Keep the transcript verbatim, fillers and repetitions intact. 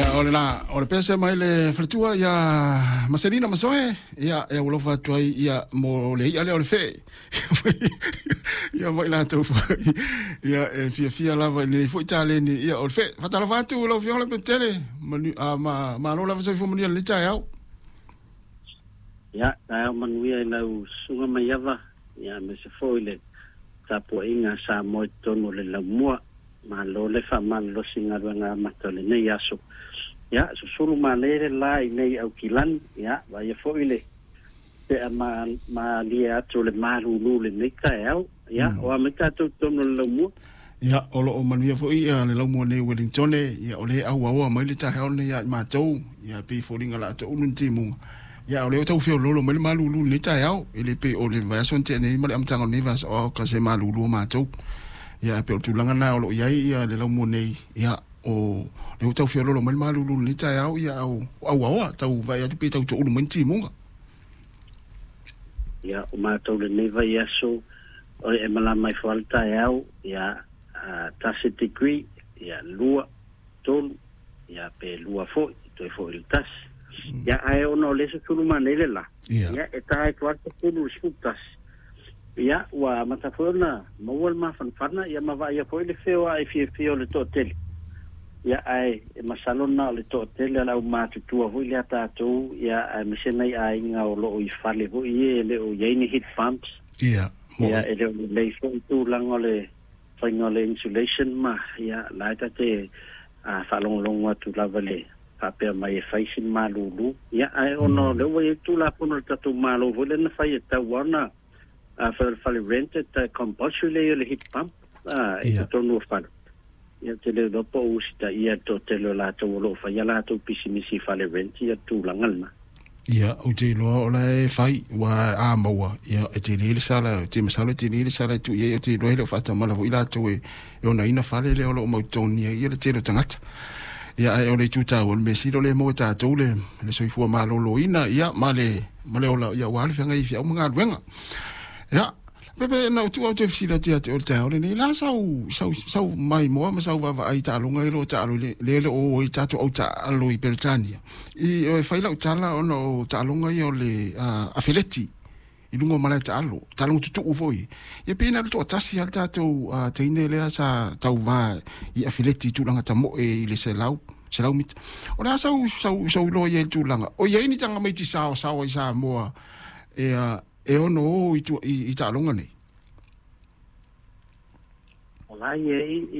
Ia o le la o le pese mai le faletua ia Maselina Masoe ia e alofa atu ai ia mo le i'a lea o le fe'e ia ma i latou foi ia e fiafia lava i lenei foi taleni ia o le fe'e. Faatalofa atu lau Afioga Lepetele manu, a, ma malo lava soifua manuia i lenei taeao. Ia, taeao manuia i lau susuga Maiava, ia aemaise foi le tapuaiga a Samoa i totonu o le laumua. Malo le faamalolosi i galuega amata o lenei aso. Ia, susulu male le la i nei Aukilani, ia, vaaia foi le pea ma, malie atu o le malulu lenei taeao. Ia, o a mai tatou i totonu o le laumua. Ia, o loo manuia foi ia le laumua nei Wellingtone, ia o le auaoa mai le taeao nei ia i matou, ia pei foliga la toulu ni timuga. Ia o le o tau feololo mai le malulu lenei taeao, e le pei o le vaiaso na tea nei ma le amataga o lenei vaiaso, o ka se malulu o matou. Ia pei o le tulaga lena o loo i ai ia le laumua nei, ia o le o tau feololo mai le malulu lenei taeao, ia au auaoa tau vaai atu pe tau toulu mai ni timuga. Ia, o matou lenei vaiaso, o le e malama mai fo ale taeao, ia, uh, tasi degree, ia, lua, tolu, ia, pe lua foi, toe foi le tasi. Ia, ae ona o le susulu manei le la. Ia. Ia, e ta e tuata tolu le sefulu tasi. Ia, ua amata foi ona maua le mafanafana, ia ma vaaia foi le feoai fiafia o le toatele. Ia, ae e masalo na o le toatele o le aumatutua foi lea tatou, ia, aemaise nai aiga o loo i fale foi e le o i ai ni heat pumps. Ia, mo Ia, e le o lelei foi tulaga o le faiga o le insulation ma, ia, la e tate a faalogologo atu lava le faapea mai e fai sina malulu. Ia, ae ona o lea ua i ai le Tulafono a le tatou Malo foi lea na fai e tatau lava ona a fai o le fale rent e compulsory le ia o le heat pump a i Ia. totonu o fale. Ia, te le iloa po o usitaia le toatele o latou o loo faia latou pisimisi i fale rent ia tulaga lena. Ia, ou te iloa o la e fai, ua a maua, ia e tele le sala, te masalo e tele le sala e tuu i ai, ou te iloa e le o faatamala foi latou e, e onaina fale lea o loo mautotogia ia le tele o tagata. Ia, ae o le itu taua, o le mea sili o lea e maua e tatou le, le soifua maloloina, ia, ma le, ma le ola, ia ua le feagai i feau ma galuega. Ia, pepe na ou tuu au toe fesili atu ia te oe i le taeao lenei, la sau, sau, sau maimoa ma sau vaavaai i taaloga i lo taalo i le, le le o i tatou au taalo i Peretania. I o e fai lau tala ona o taaloga ia o le uh, afeleti i luga o malae taalo, taaloga tutuu foi. Ia pe na o le toatasi lava le tatou uh, teine lea sa tauvā i afeleti i tulaga tamoe i le selau, selau mita. O le a sau, sau, sau iloa i ai le tulaga? O i ai ni tamaiti saosaoa i Samoa e, uh, e ono o i, tu, i, i taaloga nei? O la i ai